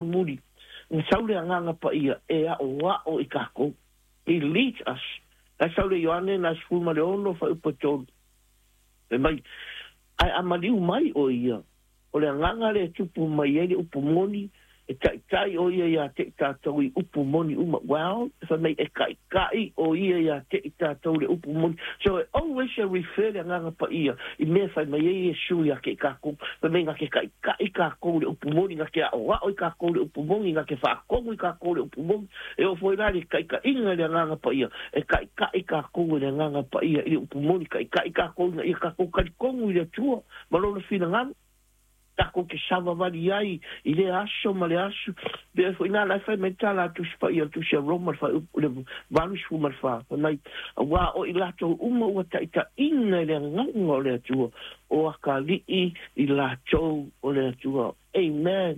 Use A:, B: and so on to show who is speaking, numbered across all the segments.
A: Muli, na sau le Agaga Paia e aʻoaʻo i kākou. He leads us. Na sau le Ioane na 16 fuaiupu e 3. Fai mai, Ae a maliu mai ʻo ia, o le agaga lea e tupu mai ai le upu moni, e taʻitaʻi ʻo ia iā te i tātou i upu moni uma. Well, fai mai, e kaʻikaʻi ʻo ia iā te i tātou le upu moni. So e always e refer le Agaga Paia i mea e fai mai ai Iesu iā ke i kākou. Fai mai, na ke kaʻikaʻi kākou le upu moni, na ke aʻoaʻo i kākou le upu moni, na ke faʻakomu i kākou le upu moni. E oo foi la le kaʻikaʻiga i le Agaga Paia, e kaʻikaʻi kākou e le Agaga Paia i le upu moni, kaʻikaʻi kākou ina ia kākou kalikonu i le Atua ma lona finagalo. Kākou ke savavali ai i lea aso ma le aso. Pea foi nā lai fai mai tā la Tusi Paia, le Tusi a Roma, le fuaiupu, le 84, fai mai, Auā o i latou uma ua taʻitaʻina i le agaga o le Atua, o akalii i latou o le Atua. Amen.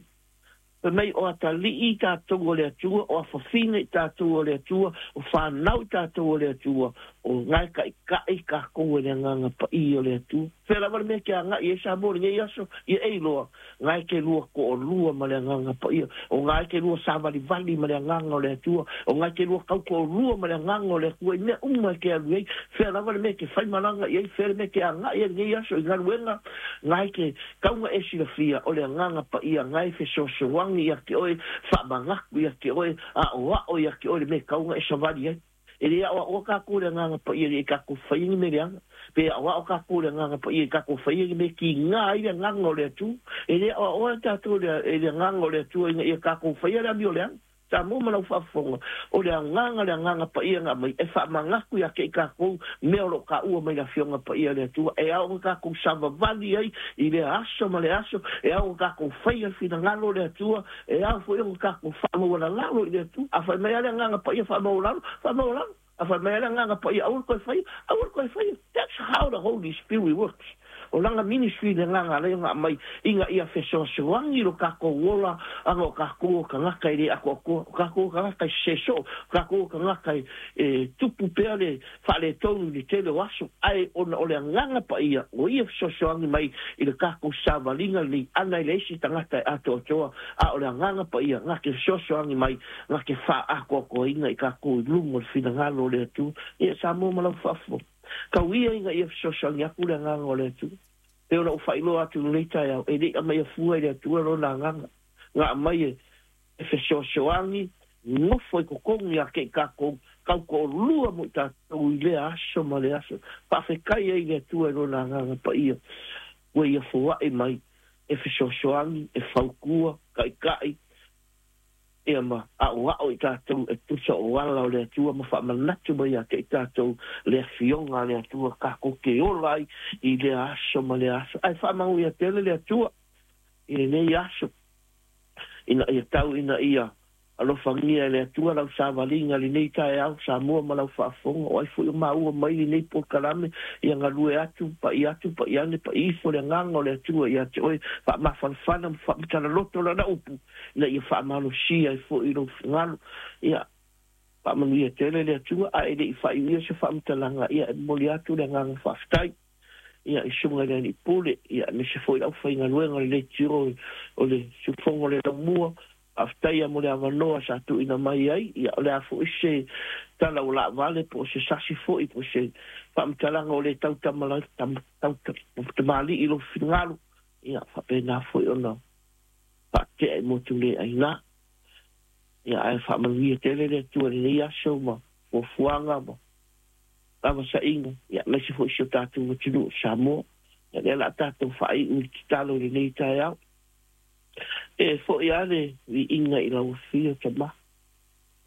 A: Fai mai, o atalii i tatou o le Atua, o afafine i tatou o le Atua, o fanau i tatou o le Atua, o gaekaʻikaʻi kākou e le Agaga Paia o le Atua. Fea lava le mea ke agaʻi ai Samoa i lenei aso, ia e iloa, gae ke lua toʻalua ma le Agaga Paia, o gae ke lua sāvalivali ma le Agaga o le Atua, o gae ke lua kautoʻolua ma le Agaga o le Atua i mea uma e ke alu ai, fea lava le mea ke faimalaga i ai, fea le mea ke agaʻi ai lenei aso i galuega, gae ke Kauga e silafia, o le Agaga Paia gae fesoasoani ia te oe, faamagatu ia te oe, aʻoaʻo ia te oe le mea kauga e savali ai. E le aʻoaʻoa kākou i le Agaga Paia i kākou faia ni mea leaga. Pe aʻoaʻo kākou i le Agaga Paia i kākou faia ni mea kīnā ai le Agaga o le Atua. E le aʻoaʻoa tātou i le Agaga o le Atua ina ia kākou faia le amio leaga. Samoa ma lau faafofoga, o le agaga le Agaga Paia na aumai e faamagatu ia te i kākou mea o lo o kāua mai le Afioga Paia a le Atua, e ao ona kākou savavali ai i lea aso ma le aso, e ao ona kākou faia le finagalo o le Atua, e ao foi ona kākou faamaualalalo i le Atua. A fai mai lava le Agaga Paia faamaualalo, faamaualalo. A fai mai lava le Agaga Paia aua le toe faia, aua le toe faia. That's how the Holy Spirit works. O lana ministry le agaga alai ona aumai ina ia fesoasoani lo kākou ola ana o kākou o tagata e le atoatoa, o kākou o tagata e sese soo, o kākou o tagata e tupu pea le faaletonu i le tele o aso, ae ona o le Agaga Paia o ia fesoasoani mai i le kākou savaliga lenei ana e leai se tagata e atoatoa, a o le Agaga Paia na te fesoasoani mai na te faaatoatoaina i kākou i luga o le finagalo o le Atua. Ia, Samoa ma lau faafofoga. Kau ia ina ia fesoasoani aku le Agaga o le Atua. Pei ona ou faailoa atu i lenei taeao, e le i aumaia fua e le Atua Lona Agaga, na aumai e fesoasoani nofo i totonu ia te i kākou, kau toʻalua mo i tātou i lea aso ma le aso. Faafetai ai i le Atua i Lona Agaga Paia ua ia foaʻi mai e fesoasoani, e fautua, taʻitaʻi, Ia ma aʻoaʻo i tātou e tusa o ala o le Atua ma faamanatu mai ia te i tātou le Afioga a le Atua kākou ke ola ai i lea aso ma lea aso. Ae faamanuia tele le Atua i lenei aso ina ia tau ina ia alofagia e le Atua lau savaliga lenei taeao Samoa ma lau faafofoga o ai foi o maua mai lenei polokalame ia galue atu paʻi atu paʻi ane paʻi ifo le agaga o le Atua ia te oe faamafanafana ma faamatala-loto lana upu ina ia faamalosia ai foi i lou finagalo. Ia, faamanuia tele le Atua, a e le i faaiuia se faamatalaga, ia, e momoli atu le agaga faafetai, ia, i Susuga i le Alii Pule, ia, aemaise foi le aufaigaluega o le Leitio o le Siufogo o le Laumua, faafetai ia mo le avanoa sa tuuina mai ai, ia, o le a foi se tala ua laavale po o se sasi foi po o se faamatalaga ua le tautamalii i lou finagalo, ia, faapena foi ona faatea i motu le aina. Ia, ae faamanuia tele le Atua i lenei aso ma fuafuaga ma lavasaina, ia, aemaise foi si o tatou atunuu o Samoa. Ia, lea o le a tatou faaiu i le tatalo i lenei taeao. E foi lava le viiga i lau Afio, Tama.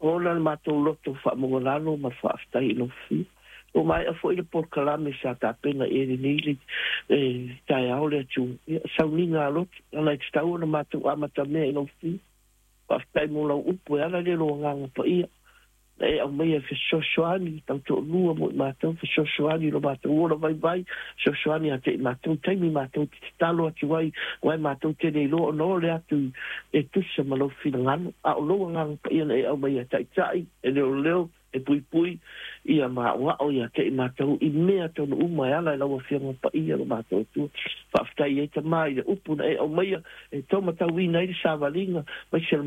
A: Ola le matou loto faamaualalo ma le faafetai i lau Afio. Ua maea foi le polokalame sa tapena i ai lenei taeao le Atua. Ia, sauniga a loto, leaga e tatau ona matou amatamea i lau Afio. Faafetai mo lau upu e ala lea i lou Agaga Paia. Na e aumaia e fesoasoani tau toalua mo i matou, fesoasoani i lo matou ola vaivai, fesoasoani ia te i matou taimi matou te tatalo atu ai, aua e matou te le iloa ona ole atu e tusa ma lou finagalo. A o lou Agaga Paia na e aumaia e taitai, e leoleo, E puipui ia maʻoaʻo ia te i matou i mea tonu uma e ala i lau Afioga Paia lo matou Atua. Faafetai ai tamā i le upu na e aumaia e taumatauina ai le savaliga mai se.